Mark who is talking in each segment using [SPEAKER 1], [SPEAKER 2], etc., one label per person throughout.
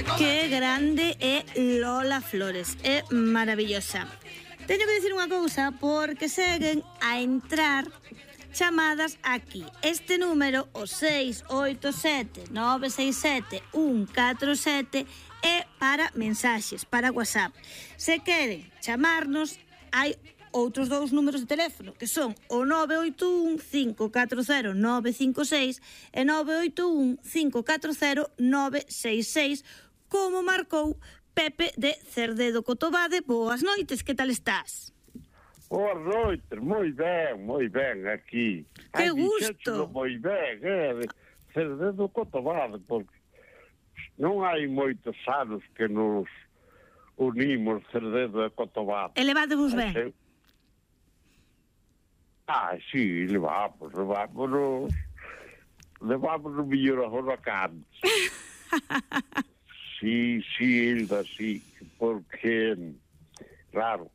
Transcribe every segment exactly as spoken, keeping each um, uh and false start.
[SPEAKER 1] Que grande é Lola Flores, é maravillosa. Teño que dicir unha cousa porque seguen a entrar chamadas aquí. Este número, o seis oito sete nove seis sete un catro sete, é para mensaxes, para WhatsApp. Se queren chamarnos, hai outros dous números de teléfono, que son o nove oito un cinco catro cero nove cinco seis e nove oito un cinco catro cero nove seis seis, como marcou Pepe de Cerdedo Cotobade. Boas noites, que tal estás?
[SPEAKER 2] Boas noites, moi ben, moi ben aquí.
[SPEAKER 1] Que Ai, gusto!
[SPEAKER 2] Moi ben, é, Cerdedo Cotobade, porque non hai moitos anos que nos unimos Cerdedo e Cotobade.
[SPEAKER 1] E levádevos ben?
[SPEAKER 2] Ser... Ah, sí, levamos, levámonos, levámonos mellor agora que antes. Sí, sí, Hilda, sí, porque, claro,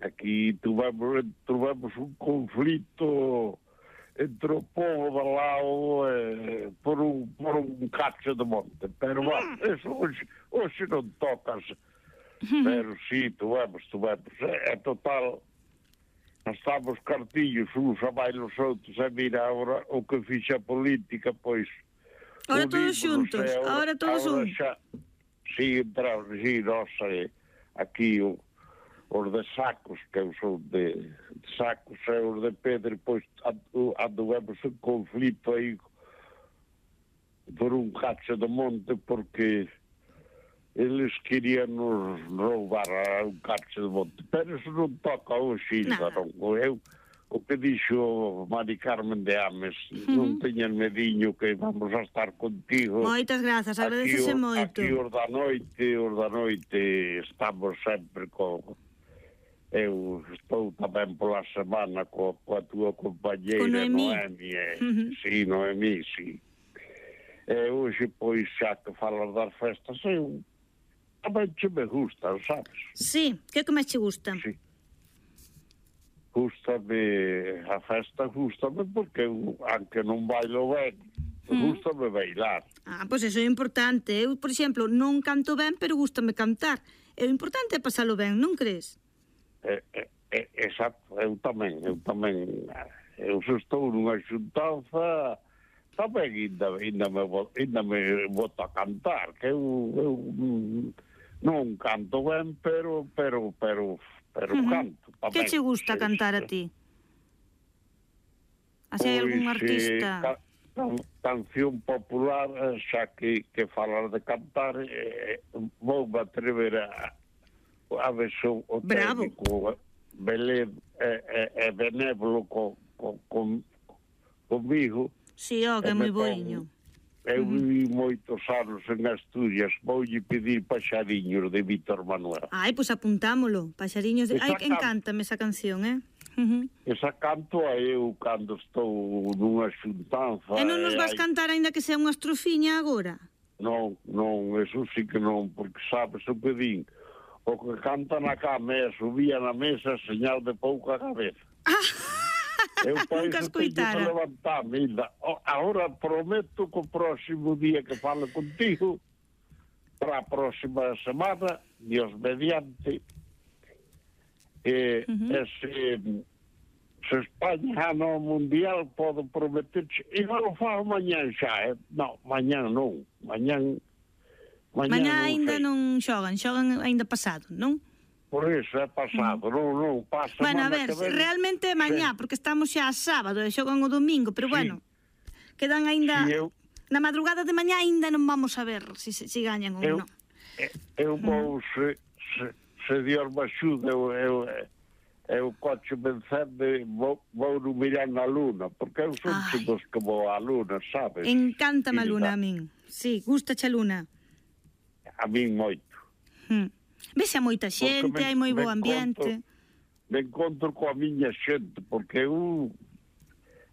[SPEAKER 2] aquí tuvemos, tuvemos un conflito entre o povo de lado eh, por, un, por un cacho de monte, pero bueno, eso hoxe, hoxe non tocas, pero sí, tuvemos, tuvemos, é, é total, estamos cartillos uns a máis os outros, e mira, agora o que fixa a política, pois,
[SPEAKER 1] ahora todos xuntos, ahora todos un.
[SPEAKER 2] Si, entramos, si, nosa, eh, aquí o, os de Sacos, que eu sou de, de Sacos, e os de Pedro, pois anduvemos un conflito aí por un cacho de monte, porque eles querían nos roubar a un cacho de monte, pero eso non toca hoxe, non. Eu, o que dixo Mari Carmen de Ames, uh-huh. non teñan mediño que vamos a estar contigo.
[SPEAKER 1] Moitas grazas, agradecese moito.
[SPEAKER 2] Aquí os da noite, os da noite estamos sempre co... Eu estou tamén pola semana co, coa túa compañeira Noemi, e, uh-huh. sí, Noemi, sí. E hoxe, pois, xa que falas das festas, eu tamén che me gustan, sabes?
[SPEAKER 1] Sí, que que máis che gusta?
[SPEAKER 2] Sí. Gústame a festa, gústame porque eu, aunque non bailo ben, mm. gústame bailar.
[SPEAKER 1] Ah, pois eso é importante. Eu, por exemplo, non canto ben, pero gústame cantar. É o importante é pasalo ben, non crees?
[SPEAKER 2] É, é, é, exacto, eu tamén, eu tamén, eu se estou nunha xuntanza, tamén ainda, ainda, me, ainda me boto a cantar, que eu, eu non canto ben, pero, pero, pero, pero uh-huh. canto. Tamén.
[SPEAKER 1] Que che gusta sí, cantar a ti? Así hai algún artista?
[SPEAKER 2] Eh, ca, can, canción popular, xa que, que falar de cantar, eh, vou me atrever a, a ver o, o técnico Belén e eh, eh, benévolo co, co, con, comigo.
[SPEAKER 1] Si, ó, que é moi boiño.
[SPEAKER 2] Eu vivi moitos anos en Asturias, voulle pedir Paxariños de Víctor Manuel.
[SPEAKER 1] Ai, pois pues apuntámolo, Paxariños de... Ai, que encántame esa canción, eh? Uh-huh.
[SPEAKER 2] Esa canto a eu cando estou nunha xuntanza.
[SPEAKER 1] E non nos vas hai... cantar aínda que sea unha estrofiña agora?
[SPEAKER 2] Non, non, eso sí que non, porque sabes o que din, o que canta na cama e subía na mesa señal de pouca cabeza.
[SPEAKER 1] Ah!
[SPEAKER 2] Eu
[SPEAKER 1] nunca escoitara.
[SPEAKER 2] Agora prometo que o próximo día que falo contigo, para a próxima semana, Dios mediante, eh, uh-huh. ese, se España no Mundial, podo prometer, e non o fago mañán xa, eh? Non, mañán non, mañán...
[SPEAKER 1] Mañán, mañán ainda non xogan, xogan ainda pasado, non?
[SPEAKER 2] Por eso é pasado, mm. non, non, pasa.
[SPEAKER 1] Bueno, a ver, ven... realmente é mañá, sí. Porque estamos xa a sábado e xogan o domingo, pero sí. Bueno, quedan ainda... Sí, eu... Na madrugada de mañá ainda non vamos a ver se si, si gañan ou
[SPEAKER 2] eu,
[SPEAKER 1] non.
[SPEAKER 2] Eu vou, mm. se, se, se Dios me axuda, eu, eu, eu coche vencende, vou, vou no mirar na luna, porque eu son dos que vou á luna, sabes?
[SPEAKER 1] Encántame a luna a min, sí, gustache a luna.
[SPEAKER 2] A min moito.
[SPEAKER 1] Mm. Vese a moita xente, me, hai moi bo ambiente.
[SPEAKER 2] Encontro, me encontro coa miña xente, porque eu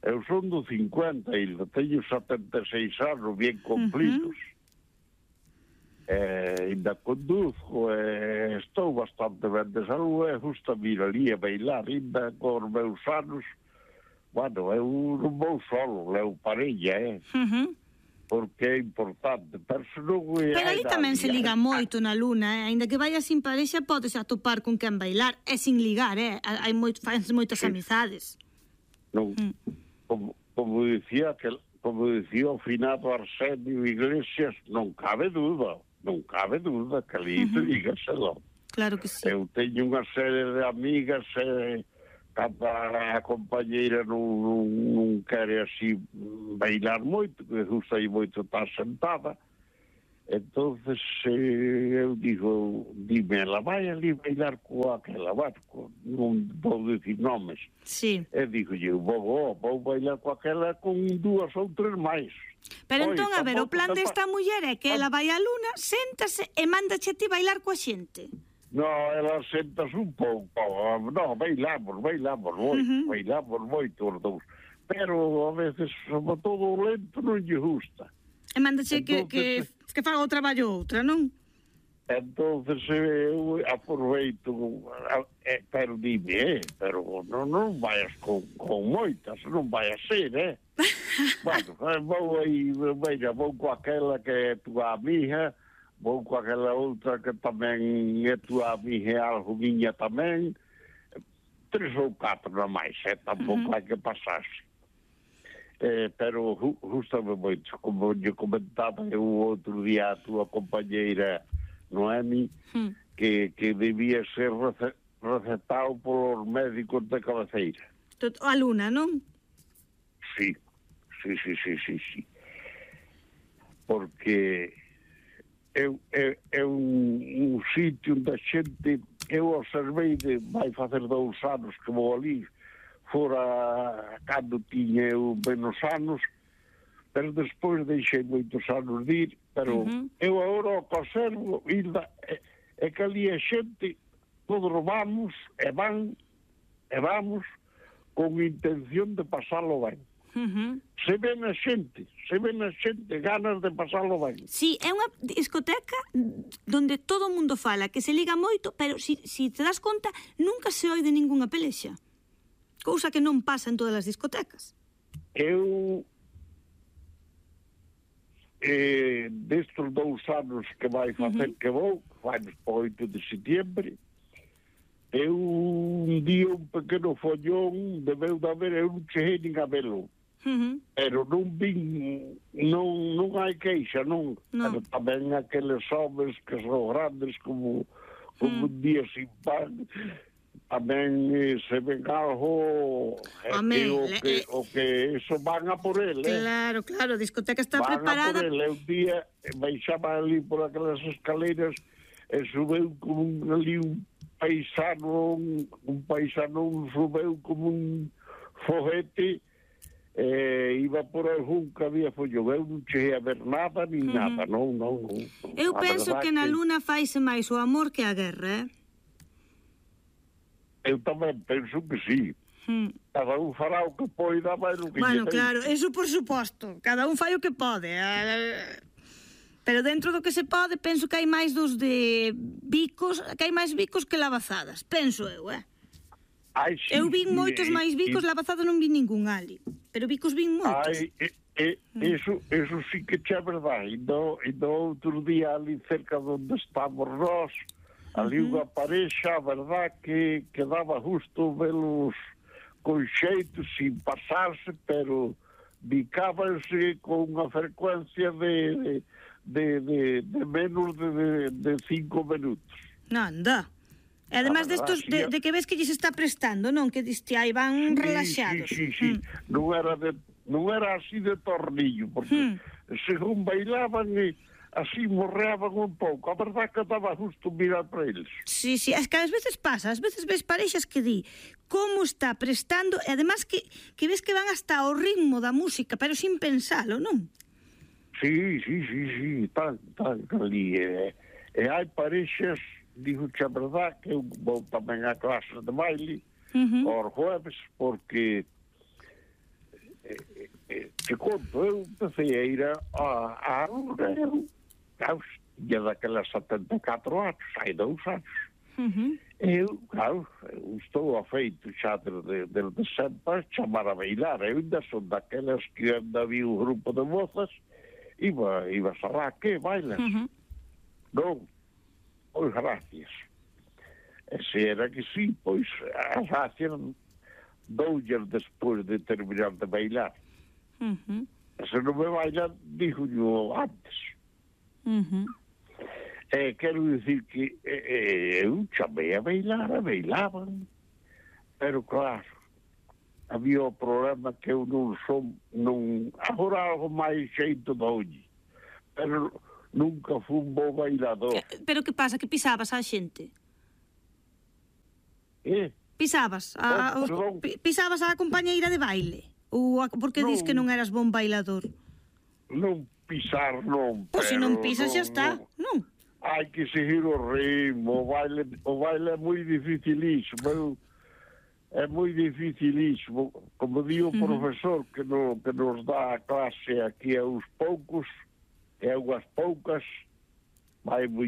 [SPEAKER 2] eu son do cincuenta e teño setenta e seis anos bien cumplidos. Uh-huh. Eh, ainda conduzco, eh, estou bastante ben de saúde, e justo a mir ali a bailar, ainda con os meus anos. Bueno, eu non vou solo, levo parella, eh?
[SPEAKER 1] Uh-huh.
[SPEAKER 2] porque é importante, pero se non é...
[SPEAKER 1] Pero ali tamén se liga moito na Luna, eh? Ainda que vaya sin parexa, podes atopar con quen bailar, e sin ligar, eh? Hai moito, fans moitas sí. amizades.
[SPEAKER 2] Non, mm. como, como dicía que como dicía o finado Arsenio Iglesias, non cabe duda, non cabe duda que ali uh-huh. te dígaselo.
[SPEAKER 1] Claro que sí.
[SPEAKER 2] Eu teño unha serie de amigas e... Eh, cada compañeira non, non, non quere así bailar moito, que gusta aí moito estar sentada. Entonces eh, eu digo, dime, ela vai ali bailar coa aquela barco, non vou dicir nomes.
[SPEAKER 1] Sí.
[SPEAKER 2] E digo, eu vou, vou bailar coa aquela con dúas ou tres máis.
[SPEAKER 1] Pero entón, a ver, o plan desta muller é que ela vai á Luna, séntase e mándache a ti bailar coa xente.
[SPEAKER 2] No, ela sentas un pouco, no, bailamos, bailamos moito, uh-huh. bailamos moito os dous, pero a veces, sobre todo o lento, non lle gusta.
[SPEAKER 1] E mándache que, que, que faga o traballo outra, non?
[SPEAKER 2] Entonces eu aproveito, eh, pero dime, eh, pero non, non vayas con, con moitas, non vai a ser, eh? Bueno, vou aí, veja, vou con aquela que é tua amiga, vou com aquela outra que tamén é tua amiga e algo miña tamén, tres ou catro na máis, eh? Tampouco uh-huh. hai que pasarse. Eh, pero gustame moito, como lle comentaba eu outro día a tua compañeira Noemi, uh-huh. que, que debía ser rece, recetado polos médicos de cabeceira.
[SPEAKER 1] A Luna, non?
[SPEAKER 2] Sí, sí, sí, sí, sí, sí. Porque... É, é, é un, un sitio onde a xente, eu observei de, vai facer dous anos que vou ali, fora cando tiña eu menos anos, pero despois deixei moitos anos de ir, pero uh-huh. eu agora o conservo, Hilda, é, é que ali a xente, todos vamos, e van, e vamos, con intención de pasalo ben. Uh-huh. Se ven a xente, se ven a xente ganas de pasarlo ben.
[SPEAKER 1] Sí, é unha discoteca donde todo o mundo fala, que se liga moito, pero si, si te das conta, nunca se oi de ningunha pelexa. Cousa que non pasa en todas as discotecas.
[SPEAKER 2] Eu eh, destes dous anos que vai facer uh-huh. que vou, vai para oito de setiembre, eu un día un pequeno follón debeu de haber, eu non cheguei nin a velo. Uh-huh. Pero non vin, non, non hai queixa, non. No. Pero tamén aqueles homens que son grandes como, como uh-huh. un día sin pan, tamén eh, se ven algo eh,
[SPEAKER 1] Home,
[SPEAKER 2] o,
[SPEAKER 1] le,
[SPEAKER 2] que,
[SPEAKER 1] eh,
[SPEAKER 2] o que eso van a por ele.
[SPEAKER 1] Claro, claro, a discoteca está
[SPEAKER 2] van
[SPEAKER 1] preparada.
[SPEAKER 2] Van a por ele, un día baixaba ali por aquelas escaleiras e subeu como un, ali un paisano, un, un paisano subeu como un foguete. Eh, iba por algún que había follón, eu non cheguei a ver nada ni uh-huh. nada, non, non, non.
[SPEAKER 1] Eu a penso que na Luna faise máis o amor que a guerra, eh?
[SPEAKER 2] Eu tamén penso que sí. Hmm. Cada un fará o que poida, vai o que
[SPEAKER 1] bueno, claro, eso por suposto, cada un fai o que pode, eh? Pero dentro do que se pode, penso que hai máis dos de bicos, que hai máis bicos que lavazadas, penso eu, eh?
[SPEAKER 2] Ai, sí,
[SPEAKER 1] eu vin moitos
[SPEAKER 2] e,
[SPEAKER 1] máis bicos, e... lavazadas non vi ningún ali. Pero bicos vin moitos.
[SPEAKER 2] Ai, e, e, eso, eso sí que é verdade. E do, e do outro día ali cerca onde estamos nós, ali uh-huh. unha parexa, a verdade que, que daba justo velos con xeito, sin pasarse, pero bicábanse con unha frecuencia de, de, de, de menos de, de, de cinco minutos.
[SPEAKER 1] Non, anda. E además destos, de, de que ves que lles está prestando, non? Que diste aí van sí, relaxados.
[SPEAKER 2] Sí, sí, sí. Mm. Non era de, non era así de tornillo, porque mm. según bailaban e así morreaban un pouco. A verdade que daba justo mirar para eles.
[SPEAKER 1] Sí, sí, es que ás veces pasa, ás veces ves parexas que di como está prestando, e además que, que ves que van hasta ao ritmo da música, pero sin pensalo, non?
[SPEAKER 2] Sí, sí, sí, sí, tan, tan, ali. E, e hai parexas, digo que a verdade que eu vou tamén a clase de baile uh-huh. aos jueves, porque eh, eh, te conto, eu empecé a ir a, a, a eu, claro, tinha daquelas setenta e catro anos, hai dous anos. Uh-huh. Eu, claro, eu estou afeito xa desde de, de sempre a chamar a bailar. Eu ainda son daquelas que ainda vi un grupo de mozas Iba, ibas alá, que bailas?
[SPEAKER 1] Uh -huh.
[SPEAKER 2] Non, pois gracias. E se era que sí, pois as gracias doullas despois de terminar de bailar.
[SPEAKER 1] Uh -huh.
[SPEAKER 2] E se non me bailan, digo-llo antes.
[SPEAKER 1] Uh -huh.
[SPEAKER 2] E quero dicir que eh, eu chamei a bailar, a bailaban, pero claro, había o problema que eu non son, non, agora algo máis xeito doulle, pero nunca fui un bo bailador.
[SPEAKER 1] Pero que pasa, que pisabas a xente?
[SPEAKER 2] Eh?
[SPEAKER 1] Pisabas a,
[SPEAKER 2] Oh,
[SPEAKER 1] os,
[SPEAKER 2] perdón.
[SPEAKER 1] pisabas a compañeira de baile? Ou a, porque
[SPEAKER 2] Non.
[SPEAKER 1] dis que non eras bon bailador?
[SPEAKER 2] Non pisar, non,
[SPEAKER 1] Pois se
[SPEAKER 2] pero
[SPEAKER 1] non pisas xa
[SPEAKER 2] non,
[SPEAKER 1] está,
[SPEAKER 2] non.
[SPEAKER 1] non?
[SPEAKER 2] Hai que seguir o ritmo, o baile, o baile é moi dificilísimo, eu, é moi dificilísimo, como di o
[SPEAKER 1] Uh -huh.
[SPEAKER 2] profesor que, no, que nos dá a clase aquí a uns poucos, e a unhas poucas, vai moi